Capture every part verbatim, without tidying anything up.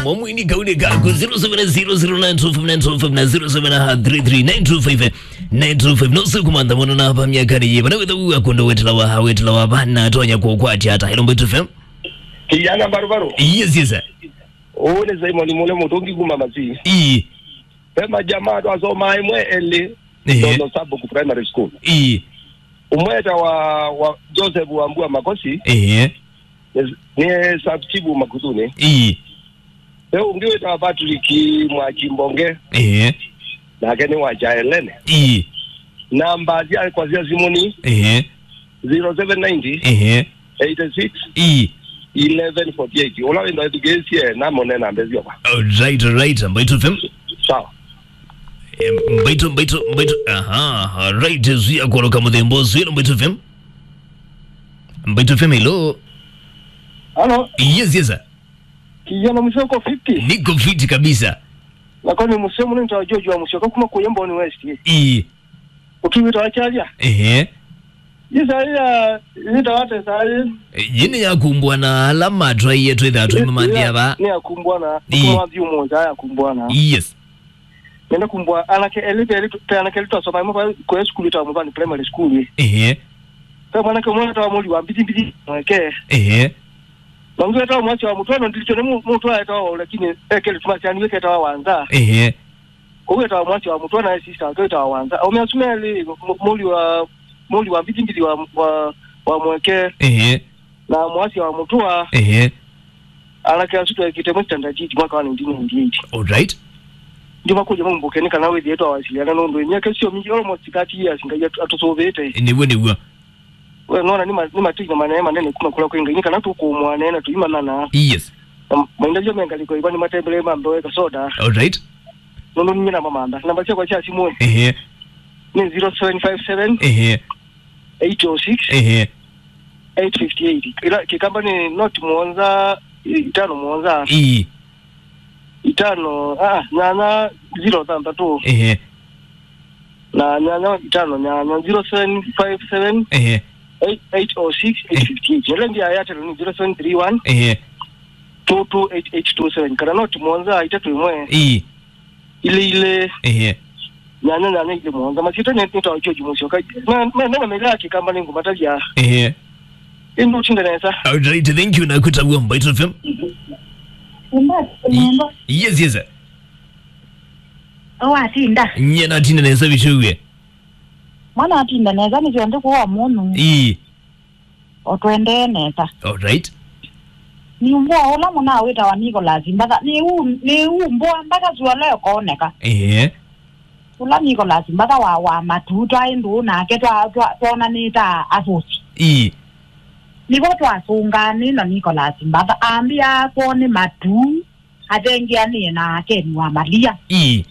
Mwamwini kauli kaku zero seven zero zero nine two five nine two five na zero seven three three nine two five nine two five. No siku mantha mwana na hapa miaka ni yeba. Na wetha uwa kondo wetela wa, wetela wa bana atonya kwa kwa ati hata. Hello, Mbaitu F M. Kijana barubaru. Yes, yes, sir. Ule Simon Mule Mutungi kuma Masi. Ii. Pema jamaa twasoma imwe eli. Ehe. Dono Sabu ku primary school. Ii. Umweta wa, wa Joseph Wambua Makosi. Ehe. Ni, ni sub chief Makuthuni. Ii. Pe ungi wita Patrick Mwachimbonge. Ehe. Nake ni wa Jaelene. Ii. Namba cia kwa cia simuni. Ehe. Zero seven ninety. Ehe. Eighty six. Ii. Eleven forty eight. Ula wenda education na mone namba cio kwa. Alright, alright. Mbaitu F M. Sawa. Em, Mbaitu, Mbaitu, Mbaitu. Aha, alright. Zuia kuondoka mudhembo. Zuia Mbaitu F M. Mbaitu F M, hello. Halo. Yes, yes, sir. Kijana Musyoka fifty. Niko fiti kabisa. Nako ni Musyoka, ni ntawa George wa Musyoka kuma kuya Mboni West. Ii. Ukiwita wachalia. Ehe. Isaia, nita wate sai. E, yini yakumbwa na alama twaiye twitha twimamanthia ba. Ni yakumbwa na. Ii. Kuma thiumo ya yakumbwa na. Yes. Nenda kumbwa anake eli eli tu, pe anake eli twasoma mo kwa sukulu ta Muvani Primary School. Ehe. Pe mwanake mwana ta muli wa mbili mbili mweke. Ehe. Nongi weta mwasi wa mutwano ndilicho ne mu-, mutwa eta wa lakini ekele tumasi ani weketa wa wanza. Ehe. Koweta mwasi wa mutwa na sister wake weta wa wanza. Ome asumeli mu-, muli wa, muli wa mbili mbili wa, wa, wa mweke. Ehe. Na mwasi wa mutwa. Ehe. Anake asu twekite mu standard eight mwaka wa nineteen ninety-eight. All right. Ndi makuja mumbuke ni kana withie twawasiliana nundu miaka sio mingi, almost thirty years, Ngai atu-, atusuvite. Nĩw'o, nĩw'o. We nona ni ma-, ni matinya manene manene kuma kula kwĩ Ngai, ni kana tukumwanena tuimanyana. Yes. Na maindavyo mengaliko iva ni matembele mambe weka soda. All right. Nundu ninye na mamanda. Namba syakwa sya simu. Ehe. Ni zero seven five seven. Ehe. Eight oh six. Ehe. Eight fifty eight. Ila kikamba ni noti muonza, itano muonza. Ii. Itano, ah, nyanya, zero thantatu. Ehe. Na nyanya, itano, nyanya, zero seven five seven. Ehe. Eight, eight oh six, eight fifty eight. Nile ndia ya telo ni zero seven three one. Ehe. Two two eight eight two seven. Kana noti muonza, itatu imwe. Ii. Ile ile. Ehe. Nyanya, nyanya, ile muonza. Masito ni nita wa George Musyoka. Na, na, na, na mega kikamba ni ngumatavya. Ehe. Indu utinda nesa. All right, thank you, na kutagua Mbaitu F M. Yes, yes, sir. Owatinda. Nye natinda nesa bichuwe. Mwana atinda nesa ni kionde kwa munu. Ii. Otwendee nesa. All right. Ni umbo ola muna witawa Nicholas Mbatha. Ni u-, ni umbo mpaka zuala yokoneka. Ehe. Ula Nicholas Mbatha wa, wa matu twaĩ ndũũ nake twa, twa, twonanĩte asosi. Ii. Nĩvo twasũngaanĩ na Nicholas Mbatha ambĩa akw'o nĩ matu athengeanĩe na Akeni wa Malia. Ii.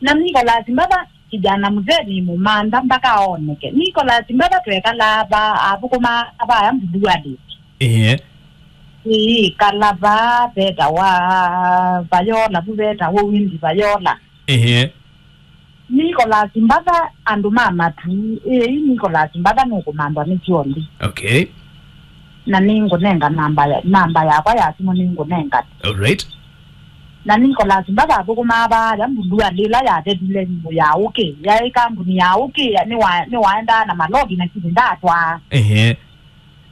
Na Nicholas Mbatha kijana mzee nĩ mũmantha mpaka oneke. Nicholas Mbatha twekalaa va athũkũma vaya Mbulualĩ. Ĩĩ. Ĩĩ, kala va vetawa Vayola, vu vetawa Windi Vayola. Ĩĩ. Nicholas Mbatha, andũ ma matu, ĩĩ, Nicholas Mbatha nũkũmanthwa nĩ kyondi. Okay. Na nĩngũnenga namba ya, namba yakwa ya simũ nĩngũnenga. All right. Na Nicholas Mbatha athũkũmaa vaya Mbulualĩ ĩla yathelile nyũmũ ya ũkĩ. Yaĩ kambuni ya ũkĩ, ya, nĩwa-, nĩwaendaa na maloli na kĩndũ ndatwaa. Ehe.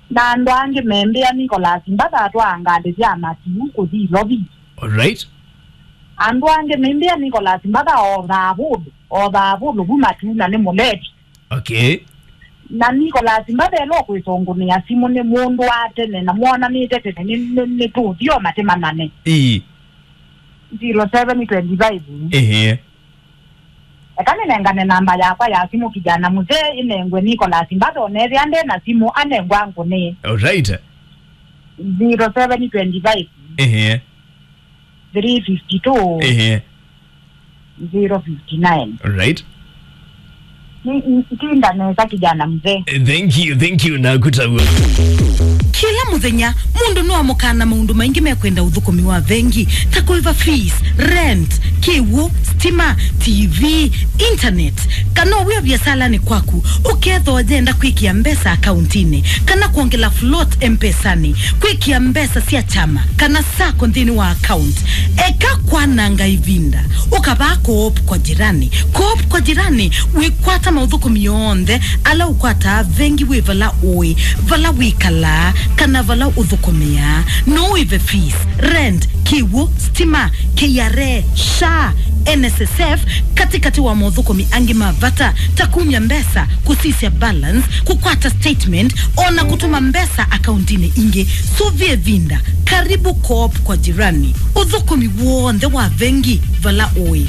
Na andũ angĩ membĩa Nicholas Mbatha atwaa ngalĩ sya matu kũthi Ilovi. All right. Andũ angĩ membĩa Nicholas Mbatha othaa vũlũ, othaa vũlũ vu matu na nĩ mũleti. Okay. Na Nicholas Mbatha ĩla ũkwĩsũngũnĩa simũ nĩ mũndũ wa tene na mwonanĩte tene nĩ, nĩ, nĩ tũũthio matĩmanane. Ĩĩ. Zero seven twenty five. Ehe. Eka nĩnengane namba yakwa ya simũ kijana mzee ĩnengwe Nicholas Mbatha onethĩa nde na simũ anengwa ngũnĩ. All right. Zero seven twenty five. Ehe. Three fifty two. Ehe. Zero fifty nine. All right. Ni, ni, tinda nesa kijana mzee. Eh, thank you, thank you, nakutagua. Kila Mũthenya, mũndũ nũamũkaa na maũndũ maingĩ mekwenda ũthũkũmi wa vengi, ta kũĩva fees, rent, kĩw'ũ, stima, T V, internet. Kana wĩ o viasalanĩ kwaku, ũkethwa ũyenda kwĩkĩa mbesa akauntinĩ, kana kwongela float M-Pesanĩ, kwĩkĩa mbesa sya kyama, kana sacco nthĩnĩ wa account. Eka kwananga ĩvinda, ũkavaa Co-op kwa Jirani. Co-op kwa Jirani wĩkwata maũthũkũmi onthe ala ũkwataa vengi wĩ vala ũĩ, vala wĩkalaa, kana vala ũthũkũmĩaa. No ũĩve fees, rent, kĩw'ũ, stima, K R A, SHA, N S S F, katĩkatĩ wa maũthũkũmi angĩ ma vata ta kumya mbesa, kũsisya balance, kũkwata statement, o na kũtũma mbesa akauntinĩ ingĩ. Sũvĩa ĩvinda. Karibu Co-op kwa Jirani. Ũthũkũmi w'onthe wa vengi vala ũĩ.